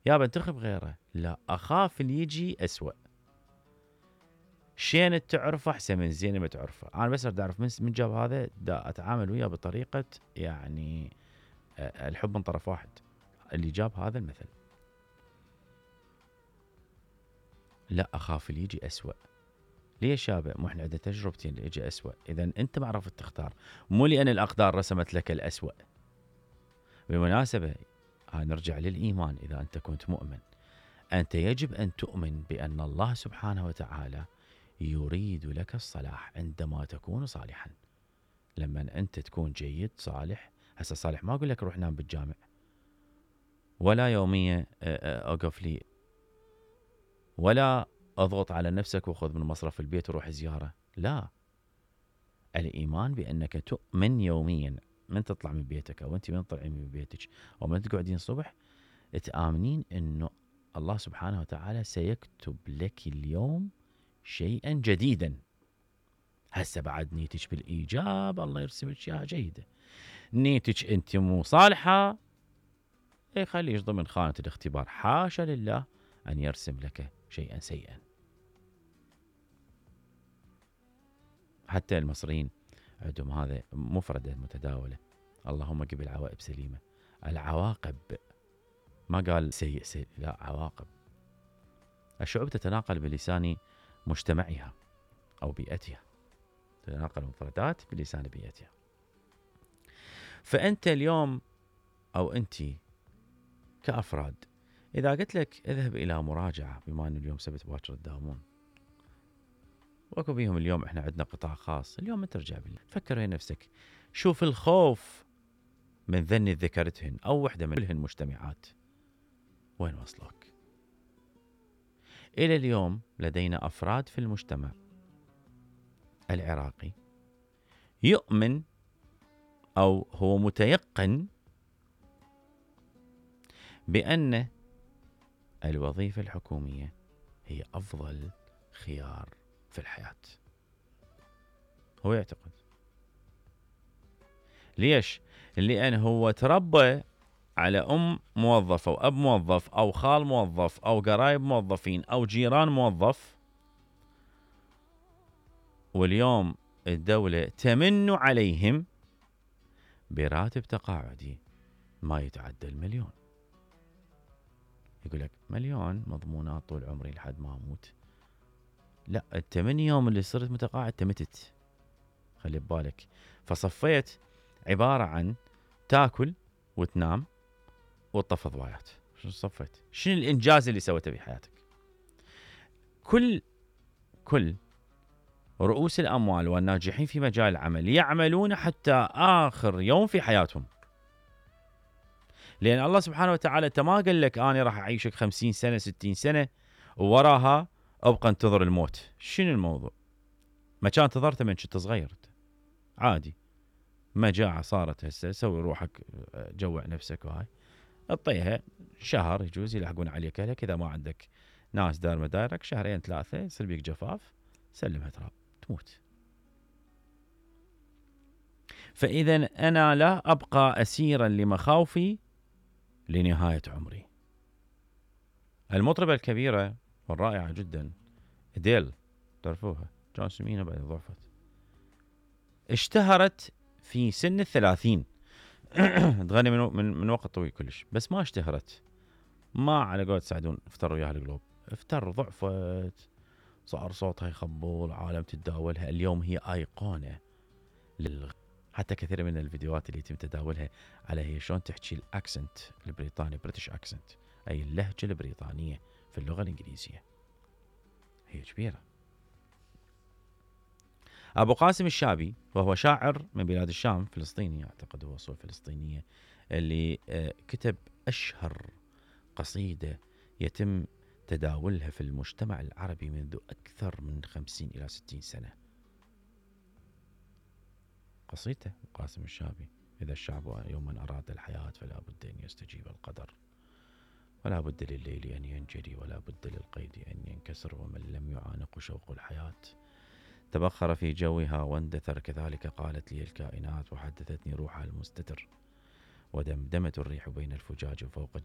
يا بنتخب غيره، لا أخاف اللي يجي أسوأ. شين تعرفه أحسن من زين ما تعرفه. أنا بس أريد أعرف من جاب هذا، دا أتعامل وياه بطريقة يعني الحب من طرف واحد. اللي جاب هذا المثل لا أخاف اللي يجي أسوأ. ليش يابا؟ مو احنا عندنا تجربتين اللي يجي أسوأ. إذا أنت ما عرفت تختار، مو لأن الأقدار رسمت لك الأسوأ. بالمناسبة نرجع للإيمان. إذا أنت كنت مؤمن، أنت يجب أن تؤمن بأن الله سبحانه وتعالى يريد لك الصلاح عندما تكون صالحا. لما أنت تكون جيد صالح، هسه صالح ما أقول لك روح نام بالجامع، ولا يومية أقف لي، ولا أضغط على نفسك وخذ من مصرف البيت وروح زيارة. لا، الإيمان بأنك تؤمن يوميا من تطلع من بيتك، أو أنت من تطلعين من بيتك، أو من تقعدين الصبح، تآمنين أنه الله سبحانه وتعالى سيكتب لك اليوم شيئا جديدا. هسه بعد نيتك بالإيجاب الله يرسم لك إياها جيدة، نيتك أنت مو صالحة يخليش ضمن خانة الاختبار. حاشا لله أن يرسم لك شيئا سيئا. حتى المصريين عندهم هذا مفردة متداولة، اللهم قبل العواقب سليمة. العواقب ما قال سيء سيء، لا، عواقب. الشعوب تتناقل بلسان مجتمعها أو بيئتها، تتناقل المفردات بلسان بيئتها. فأنت اليوم أو أنت كأفراد، إذا قلت لك اذهب إلى مراجعة، بما أن اليوم سبت باكر تداومون، وأكو بيهم اليوم إحنا عندنا قطاع خاص، اليوم أنت ترجع بالله فكر ويا نفسك، شوف الخوف من ذني ذكرتهن أو وحدة من كلهن مجتمعات وين وصلوك. إلى اليوم لدينا أفراد في المجتمع العراقي يؤمن أو هو متيقن بأن الوظيفة الحكومية هي أفضل خيار في الحياة. هو يعتقد. ليش؟ لأن هو تربى على أم موظفة وأب موظف أو خال موظف أو قرايب موظفين أو جيران موظف، واليوم الدولة تمن عليهم براتب تقاعدي ما يتعدى 1,000,000. يقول لك 1,000,000 مضمونات طول عمري لحد ما أموت. لا، أنت من يوم اللي صرت متقاعد تمتت، خلي ببالك. فصفيت عبارة عن تاكل وتنام وتطفى ضوايات. شو صفيت؟ شنو الإنجاز اللي سويته بحياتك؟ كل رؤوس الأموال والناجحين في مجال العمل يعملون حتى آخر يوم في حياتهم، لأن الله سبحانه وتعالى أنت ما قال لك أنا راح أعيشك 50 سنة 60 سنة ووراها أبقى انتظر الموت. شنو الموضوع؟ ما كان انتظرته من كنت صغير عادي، مجاعة صارت هسه سوي روحك جوع نفسك وهاي اعطيها شهر يجوز يلحقون عليك أهلك. إذا ما عندك ناس دار مدارك شهرين 3 يصير بيك جفاف، سلمها تراب تموت. فإذا أنا لا أبقى أسيرا لمخاوفي لنهاية عمري. المطربة الكبيرة والرائعة جدا أديل، تعرفوها، جون سمينة بعد ضعفت، اشتهرت في سن 30 تغني من وقت طويل كلش، بس ما اشتهرت، ما على قولة سعدون افتر وياها القلوب، افتر ضعفت، صار صوتها يخبل، عالم تتداولها. اليوم هي أيقونة حتى كثير من الفيديوهات اللي يتم تداولها على هي شلون تحكي الأكسنت البريطاني، بريتش أكسنت، أي اللهجة البريطانية في اللغة الإنجليزية، هي كبيرة. أبو قاسم الشابي وهو شاعر من بلاد الشام، فلسطيني أعتقد، هو أصول فلسطينية، اللي كتب أشهر قصيدة يتم تداولها في المجتمع العربي منذ أكثر من 50 إلى 60 سنة. قصيدة قاسم الشابي: إذا الشعب يوما أراد الحياة فلا بد أن يستجيب القدر، ولا بد لليل أن ينجلي، ولا بد للقيد أن ينكسر، ومن لم يعانق شوق الحياة تبخر في جوها واندثر. كذلك قالت لي الكائنات وحدثتني روحها المستتر، ودمدمت الريح بين الفجاج فوق